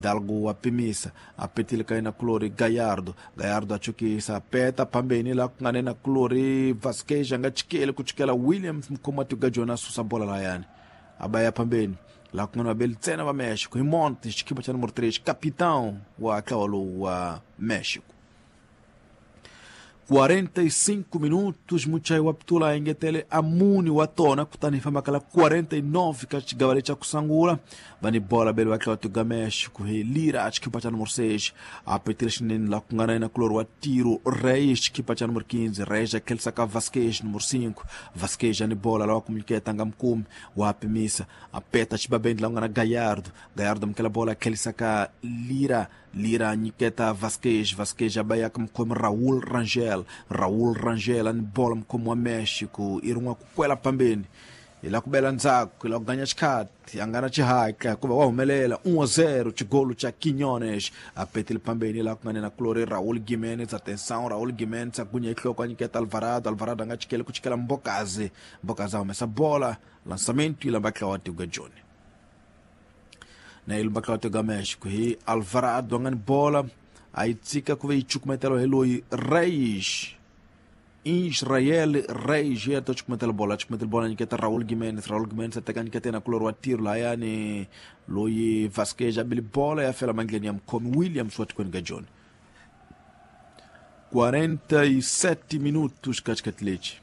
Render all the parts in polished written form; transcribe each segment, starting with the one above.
Fidalgo wa pimisa a petile ka yena kulori Gallardo. Gallardo a chukisa peta pambeni la ku nga na yena kulori Vasquez a nga chikeli ku chikela Williams mukhomi wa tiko Jona a susa bola layani a ba ya pambeni la ku nga na vabeli ntsena va Mexico hi Montes xikipa xa numero 3 capitão wa ntlawa lowu wa Mexico. 45 minutos muchayi wa pitula a engetele a mune wa tona kutani hi fambaka la 49 ka xigava lexi xa ku sungula va ni bola bele va tlhela tuga Mexico hi Lira xikipa xa numero 6 a petile xinene la ku nga na yena kulori wa Tiro Reyes xikipa xa numero 15 Reyes a tlhelisa ka Vasquez numero 5 Vasquez a ni bola lawa ku nyiketa nga mukumi wa pimisa a peta xibabeni la ku nga na Gallardo. Gallardo amukela bola a tlhelisa ka Lira. Lira nyiketa Vasquez. Vasquez a ba ya ka mukhomi Raul Rangel. Raul Rangel a ni bola mukhomi wa Mexico i rin'wa ku kwela pambeni hi la ku bela ndzhaku hi la ku ganya xikhati a nga na xihatla hikuva wa humelela 1-0 xigolo xa Quiñones a petile pambeni la ku nga na kulori Raul Gimenez. Atenção, Raul Gimenez a gunya nhloko a nyiketa Alvarado. Alvarado a nga chikeli ku chikela Mbokazi. Mbokazi a humesa bola lançamento yi lamba tlawa wa tiko Joni na yi lumba tlawa tiko Mexico hi Alvarado a nga ni bola a yi tshika ku ve yi cukumetela hi loyi Reyes Israel Reyes ya ta cukumetela bola cukumetela bola nyiketa Raul Gimenez. Raul Gimenez a teka nyiketa yena kulori wa tiro lahayani loyi Vasquez a bile bola ya fela mandleni ya mukhomi Williams wa tikweni ka Joni. 47 minutos ka xikati lexi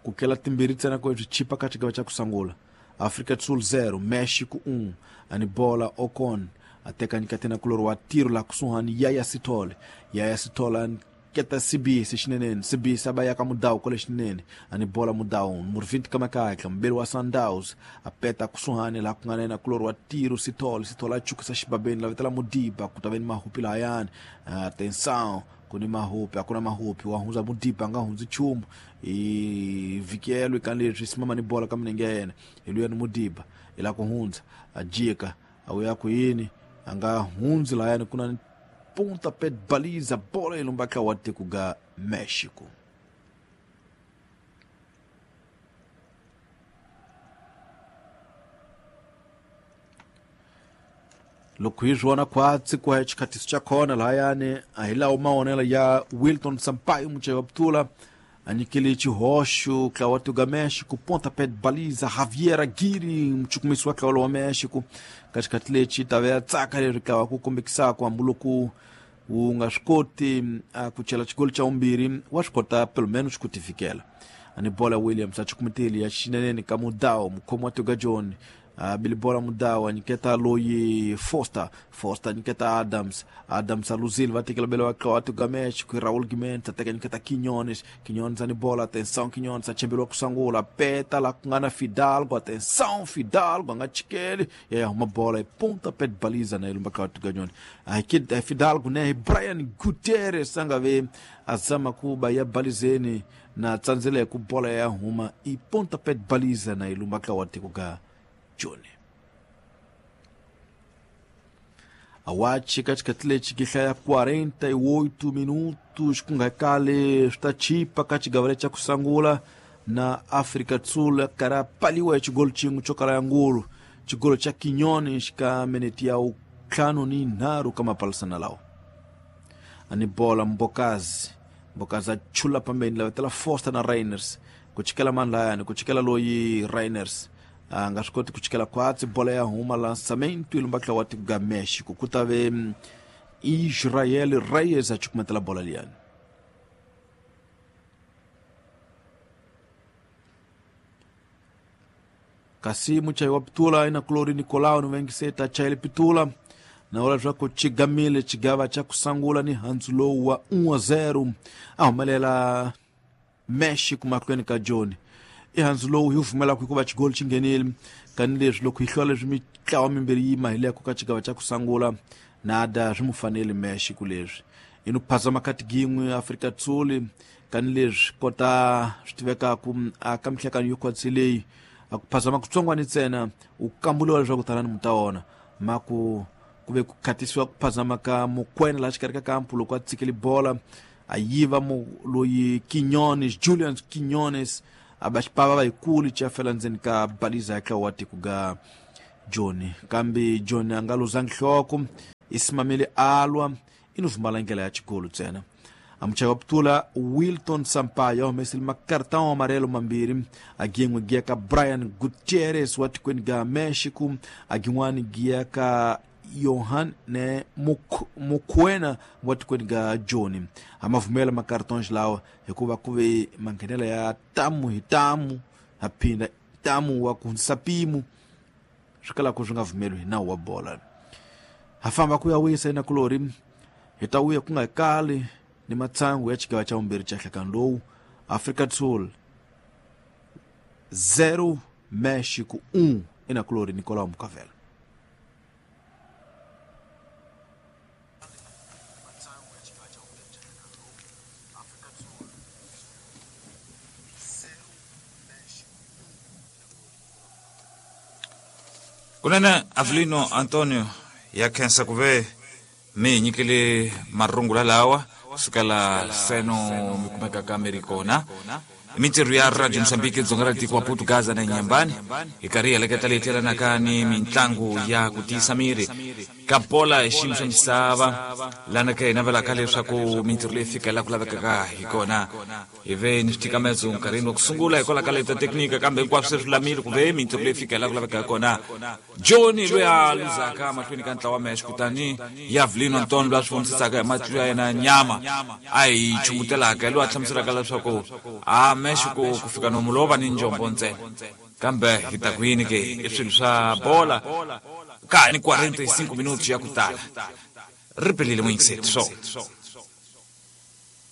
ku kela timbirhi ntsena ku swi chipa ka xigava xa ku sungula. Afrika do Sul 0 Mexico 1 ani bola Ocon a teka nyiketa yena kulori wa tiro la kusuhani Yaya Sithole. Yaya Sithole a keta Sibisi xineneni. Sibisi a ba ya ka Mudau kwale xineneni ani bola Mudau numero 20 ka makatla mubeli wa Sundowns a peta kusuhani laha ku nga na yena kulori wa tiro Sithole. Sithole a chukisa xibabeni la vitela Modiba ku ta ve ni mahupi lahayani. Atenção, ku ni mahupi a ku na mahupi wa hundza Modiba a nga hundzi nchumu i vhikelo eka leswi simama ni bola ka milenge ya yena hi luya ni Modiba i la ku hundza a jika a ya ku yini a nga hundzi lahayani ku na punta pet baliza bola yi lumba tlawa wa tiko ga Mexico. Loko hi swi vona khwatsi ku ya xikhatiso xa kona lahayani a hi lawo mavonelo ya Wilton Sampaio muchayi wa putula a nyikile xihoxo ntlawa wa tiko ga Mexico ponta pet baliza Javier Aguirre muchukumisi wa ntlawa wa Mexico ka xikhathi lexi ta ve ya tsaka leri ntlawa ku kombekisaka hambiloko wu nga swi koti a ku chela xigolo xa vumbirhi wa swi kota pelo menos ku tifikela ani bola Williams a chukumeteli ya xineneni ka Mudau mukhomi wa tiko ga Joni a bile bola Mudau a nyiketa loyi Foster. Foster nyiketa Adams. Adams a luzile va tekela bele wa tlawa tiko ga Mexico Raul Gimenez a teka nyiketa Quiñones. Quiñones a ni bola atenção Quiñones a chemberiwa ku sungula peta la ku nga na Fidalgo. Atenção Fidalgo a nga chikeli ya ya huma bola hi punta pet baliza na yi lumba tlawa tiko ga Joni a hi Fidalgo ne hi Brian Gutierrez a nga ve a zama ku ba ya balizeni na tsandzele ku bola ya huma i ponta pet baliza na yi lumba tlawa tiko ga Joni. Awachi ka xikhathi lexi ki hlaya 48 minutos ku nga kale swi ta chipa ka xigava lexi xa ku sungula na Afrika do Sul karhi a paliwa hi xigolo xin'we xo kala ya ngulu xigolo xa Quiñones ka minete ya ntlhanu ni nharhu ka mapalisana lawa a ni bola Mbokazi. Mbokazi a chula pambeni la vetela Foster na Rainers ku chikela mani layani ku chikela loyi Rainers a nga swi koti ku chikela khwatsi bola ya huma lançamento yi lumba tlawa wa tiko ga Mexico ku ta ve Israel Reyes a chukumetela bola liyani. Kasi muchayi wa pitula ina kulori Nicolau ni vengiseta chayele pitula na vula leswaku xigamile xigava xa ku sungula ni handzu lowu wa 1-0 a humelela Mexico mahlweni ka Joni. I handzu lowu hi wu pfumelaka hikuva xigolo xi nghenile kani leswi loko hi hlula leswi mitlawa mimbirhi yi mahileko ka xigava xa ku sungula nada swi mu fanele Mexico leswi i no phazama kati gin'we Afrika Tsuli kani leswi kota swi tivekaku a ka mihlekano yo khwatsi leyi a ku phazama kutsongwani ntsena u kambuliwa leswaku tanani mu ta wona ma ku ku ve ku khatisiwa ku phazama ka Mokwena laha xikarhi ka kampu loko a tshikele bola a yiva mu loyi Quiñones Julian Quiñones a ba xipava va yikulu xa fela ndzeni ka baliza ya tlawa wa tiko ga Joni kambe Joni a nga luzangi nhloko. Isimamile alwa inuvumala ndlela ya chigolo ntsena. Amuchaka wa Wilton Sampaio humesile makartão amarelo mambirhi, agin'we giya ka Brian Gutierrez wa tikweni ga Mexico, agin'wani giya ka Johan ne Mukwena wa tikweni ga Joni. Amavumela makartons lawa hikuva ku ve manghenela ya tamu hi tamu, aphinda tamu wa ku hundzisa mpimo, swi kalaka swi nga vumeliwi hi nawu wa bola. Ha famba ku ya wisa inakulori, hi ta vuya ku nga kali ni matsangu ya xigava xa vumbirhi xa nhlekani lowu. Afrika do Sul 0 Mexico 1, inakulori Nicolau Mukavela. Kunene Avelino Antonio ya khensa ku ve mi hi nyikile marungula lawa kusukela seno mi kumekaka mi ri kona. Mintirho ya Radio Mozambique dzonga ra tiko wa Portugaza na Inhambane hi karhi hi heleketa leyi tlelanaka ni mintlangu ya ku tiyisa miri ka bola hi xiyimo xa misava, lana ka hi navelaka leswaku mintirho leyi fika laha ku lavekaka hi kona. Hi ve ni switikametso nkarhini wa ku sungula hikwalaho ka leta teknika, kambe hinkwaswo se swi lulamile ku ve mintirho leyi fika laha ku lavekaka hi kona. Joni loyi a luzaka mahlweni ka ntlawa wa Mexico tani hi Avelino Antonio loyi a swi vonisisaka hi matihlo ya yena ya nyama a hi chumutelaka, hi loyi a hlamuselaka leswaku a Mexico ku fika nomu lowo va ni njombo ntsena, kambe hi ta ku yini ke, i swilo swa bola ka ha ni 45 minuti ya ku tala ri pelile muyingiseti swo.